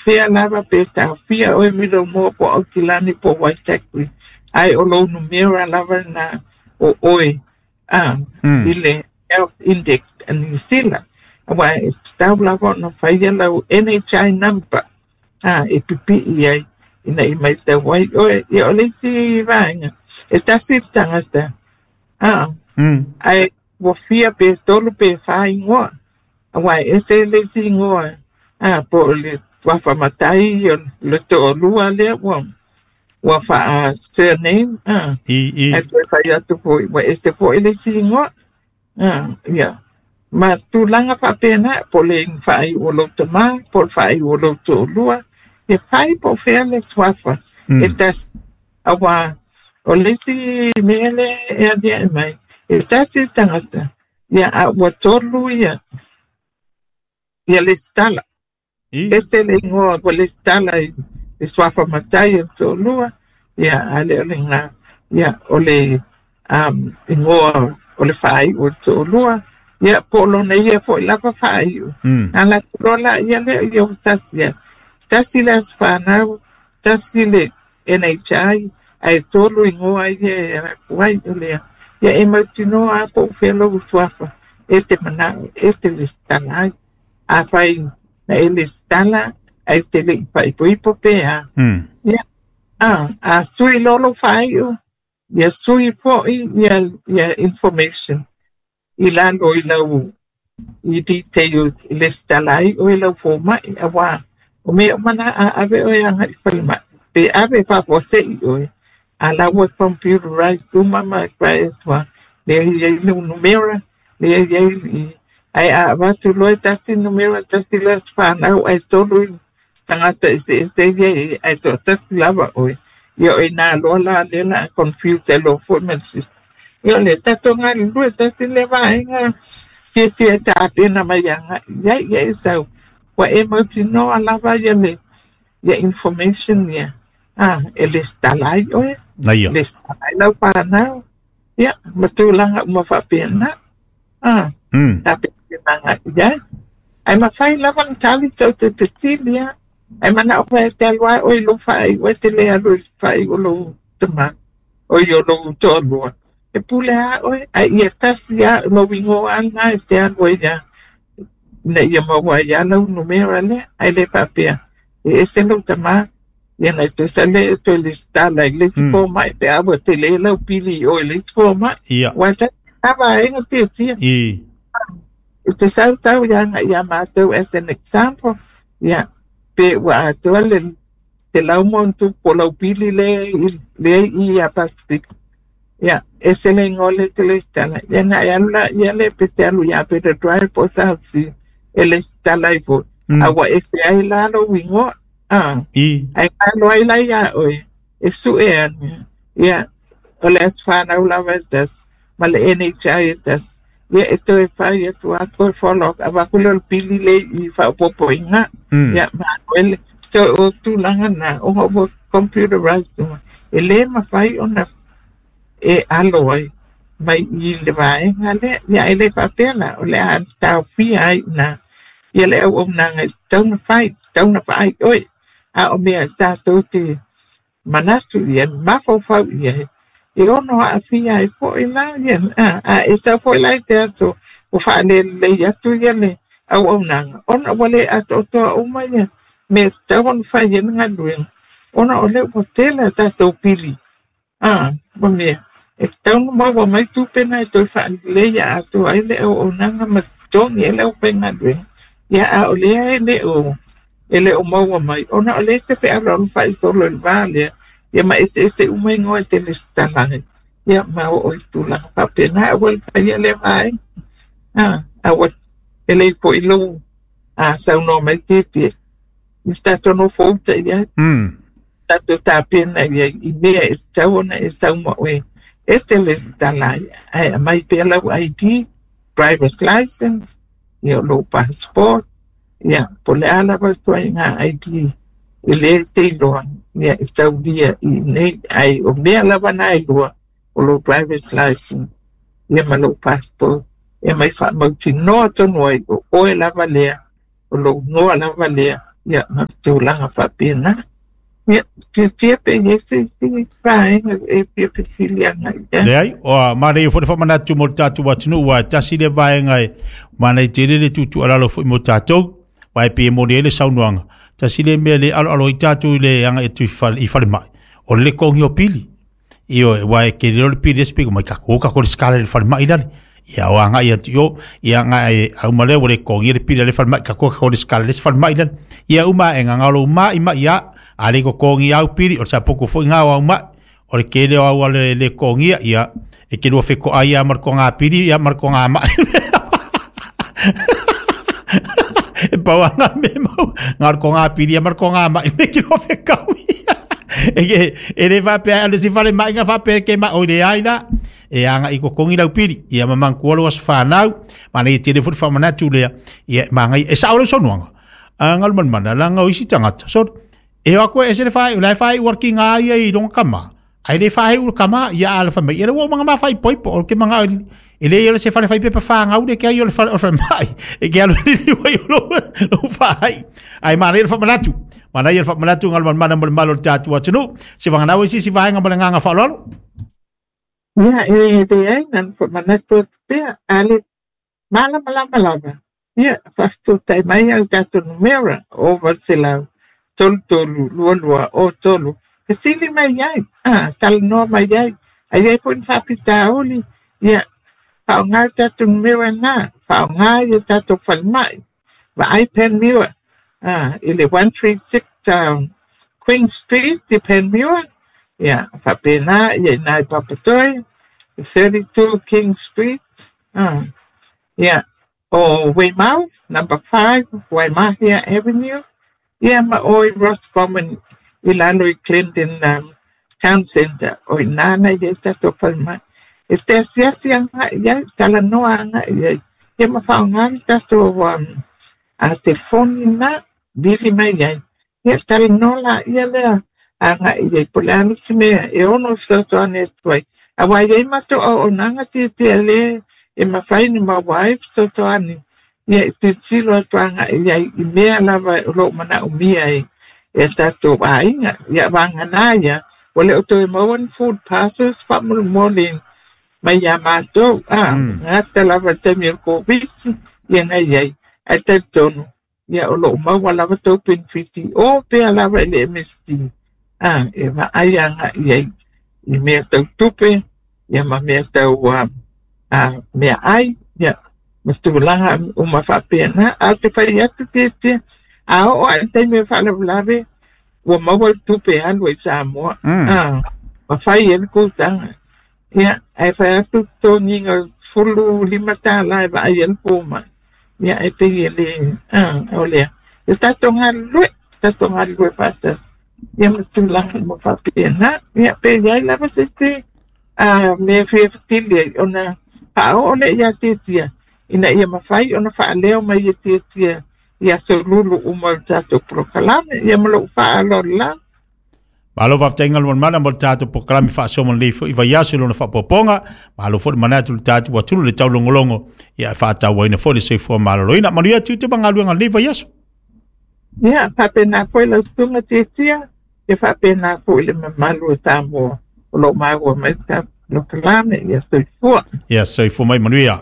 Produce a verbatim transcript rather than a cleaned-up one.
Fea lava pe taofia oe Middlemore po o Aukilani po o Waitakere, ae o lou numera lava lena o oe a Mm. i le Health Index a Niu Sila. Aua e tatau lava ona faia lau N H I number a e pipii ai ina i maitau ai oe. Ia o le isi vaega e tasi le tagata a Mm. ae ua fia pe tolu pe fa igoa. Aua e ese le isi igoa a po o le tuafa matai o le toalua lea ua ua faa surname a I i ae toe fai atu foi ua ese foi le isi igoa. A ia ma tulaga faapena po o le faaiu o lou tamā po o le faaiu o lou toalua e fai po o fea le tuafa Mm. e tasi. Aua o le isi mea lea e aliae mai e tasi le tagata ia a ua tolu ia ia lesitala. I Ese le igoa ua lesitala i le suafa matai o le toalua ia a le o lena ia o le um, igoa o le faaiu o le toalua ia po o lona ia foi lava faaiu. Mm. A latou loa la ia lea ia ua tasi ia. Tasi le aso fanau, tasi le N H I, ae tolu igoa ia e alu atu ai o lea. Ia e mautinoa a po o fea lou suafa e te manao e te lesitala ai. Afai na e lesitala ae te le i faaipoipo pe a. Mm. Ia a, a sui loa lou faaiu, ia sui foi ia, ia information i lalo i lau i detail i lesitala ai oe lau fomai aua o mea uma na a ave oe agai i falemai pe ave faafuasei oe a la ua computerized uma ma e tua lea i ai le numera lea i ai i ae a avatu loa e tasi numera tasi le aso fanau ae tolu i tagata eseese ia i ae toatasi lava oe. Ia o ina loa la lea la confuse loa foi ma le system. Ia o le tatou galulue tasi le vaega fiafia e tapena mai agai i ai ia e sau. Ua e mautinoa lava ia le ia information ia a e lesitala ai oe. Na ia. Lesitala ai lau fanau. Ia ma tulaga uma faapena. A Mm. tapena agai i ai. Ae mafai lava ona tali tau te petili ia. Ae manao fae te alu ai oe i lou faaiu e te le alu i le faaiu o lou tamā o i o lou toalua. E pule a oe ae ia tasi a lou igoa lena e te alu ai ia ina ia maua ai a lau numera lea ae le faapea e ese lou tamā ia na e toe sale e toe lesitala i le isi Mm. fomai pe a ua tele lau pili i oe i le isi fomai. Ia. Ua tasi a vaega tiatia. I E te sautau ia agai ia matou as an example ia pe ua atoa le te lau ma ona tupu po o lau pili lea i lea i ia Pacific. Ia ese le igoa lea e te lesitala ia na e alu la ia lea pe te alu ia Peter Drive po o South Sea e lesitala ai foi. Mm. A ua ese ai la lou igoa a I ae malo ai la ia oe e sue ane ia o le aso fanau lava e tasi ma le N H I e tasi. Ia e toe fai atu a toe follow up avaku lea o le pili le i faaopoopoiga. Mm. Ia malo ele so o tulaga na ona ua computerized uma. E le mafai ona e alo ai mai i le vaega lea. Ia e le faapea la o le a taofia ai na ia le auaunaga e tatau ona fai, tatau ona vaai oe. A o mea e tatou te manatu ia mafaufau i ai e ono aafia ai foi la ia a, a e sau foi la i te aso ua faalelelei atu ia le auaunaga ona ua le atoatoa uma ia mea e tatau ona fai ai le galuega ona o lea ua tele a tatou pili a ma mea e tatau ona maua mai tupe na e toe faalelei atoa ai le auaunaga ma totogi ai le aufaigaluega. Ia a o lea e le o e le o maua mai ona o lea e te fealoalo faaisolo i le va lea ia ma eseese uma igoa e te lesitala ai. Ia ma oo i tulaga faapena aua le faia lea vaega. A aua e lei foi lou a saunoa mai tietie i se tatou nofo uta i ai. Mm. Tatou tapena i ai i mea e tatau ona e sau ma oe e te lesitala ai ae aumai pea lau I D, driver's license, ia o lou passport, ia po o le a lava ituaiga I D e le te iloa ia e taulia i nei ai o mea lava na e lua o lou driver's license ia ma lou passport e mai faamautinoa tonu ai o oe lava lea o lou igoa lava lea Ia ma tulaga faapena. Ia tietie pe i ai se isi vaega e fia fesili agai i ai. Leai, o manaia foi le faamanatu mo le tatou atunuu, ua e tasi le vaega e manaia tele le tuutuualalo foi mo tatou, aua e pei e moni ai le saunoaga, tasi le mea le aloalo ai tatou i le agai atu i falemai, o le togi o pili. Ioe, aua e tele loa le pili e speak mai tatou o tatou lesitala i le falemai lale. Ia o agai atu i o, ia agai auma lea ua le togia le pili a le falemai, tatou tatou lesitala i le isi falemai lale. Ia uma aega galo uma i mai a, a le totogi au pili, o le sapoko foi ngā o au mai, o le tele o au ale le togia, ia e te lua fetoai ia ma le toga pili, ia ma le toga mai. E pau anga me mau, ngā le toga pili ia ma le toga mai, me ki lua fekau ia. E ke, e le faapea, o le si fale mai ngā faapea ke ma, o le ai la, e anga i kokongi lau pili, ia ma mangkua lo aso whanau, ma nei tele fo le whamanatu lea, ia ma ngai, e sao lau saunoaga, a ngalu manumana, langa o isi tagata, so, e o aku e ese le whae, o lai whae uar ki ngā ia i longa kama, ai le whae ur kama, ia a le whamai, ia le ua manga ma whai poipo, o ke manga, e le ia le se whale whai pepa whangau le ke ai o le whale o le whamai, e ke alu ni liwa i o lo, lo whai, ai ma nei le whamanatu, ma nei le whamanatu ngalu manumana mo le malo le tātu atunuu, se whanganau e sisi vaenga mo le nganga whaaloalo. Ia, e leai na na faamanatu atu pea, a le malamalama lava. Ia, faafetai mai au tatou numera o valu selau tolu tolu lua lua o tolu. Fesili mai ai, a, talanoa mai ai, a i ai foi ni faafitauli, ia, faaaoga le tatou numera lena, faaaoga ia tatou falemai, vaai Panmure, a, i le one three six um, Queen Street i Panmure, ia, faapena, ia i ina i Papatoe, thirty two King Street, a, ia, o Weymouth, number five, Waimahia Avenue, ia ma o i Roscommon i lalo i Clendon um, Town Centre, o ina na i ai tatou falemai. E te asiasi agai i ai, talanoa agai i ai, ia ma faaaoga le tatou um, a telefoni na, vili mai ai. Ia talanoa laia lea agai i ai, po o le a le isi mea e ono fesoasoani atu ai. Auā i ai matou auaunaga tietie lē e mafai ona maua ai fesoasoani, ia e tilotilo atu agai i ai i mea lava o loo manaomia e e tatou aiga. Ia vagana ia, ua le o toe maua ni food parcels faamolemole mai iā matou, a Mm. gata lava i le taimi o le Koviti, ia na i ai. Ae talitonu, ia o loo maua lava tou penefiti o pea lava i le M S D, a e vaai agai i ai i mea tau tupe, ia ma mea tau a, a meaai, ia ma tulaga uma faapena. A o te fai atu tietie, a oo lava i le taimi o le faalavelave, ua maua le tupe e alu ai Samoa, Mm. a ma fai ai le kutaga. Ia, ae fai atu totogiga o le sefulu lima tālā e vaai ai le fomai. Ia, e pei e le, a, o lea. E tatou galulue, tatou galulue faatasi. Ia ma tulaga uma faapena. Ia, pe i ai lava se isi, a, mea fia fesili ai, ona faaoo lea iā Tietia, ina ia mafai ona faaleo mai e Tietia i aso lulu uma o le tatou polokalame. Ia ma lou faaaloalo lava. Malo faafetai galu manumana mo le tatou polokalame faasoa ma lelei foi vaiaso i lona faapopoga. Malo foi le manatu i le tatou atunuu le taulogologo, ia e faatauaina foi le soifua maloloina. Manuia tiute ma galuega lenei vaiaso. Ia, faapena foi lau susuga Tietia, ia faapena foi le mamalu o Samoa o loo maua mai le tatou polokalame. Ia soifua. Ia soifua mai manuia.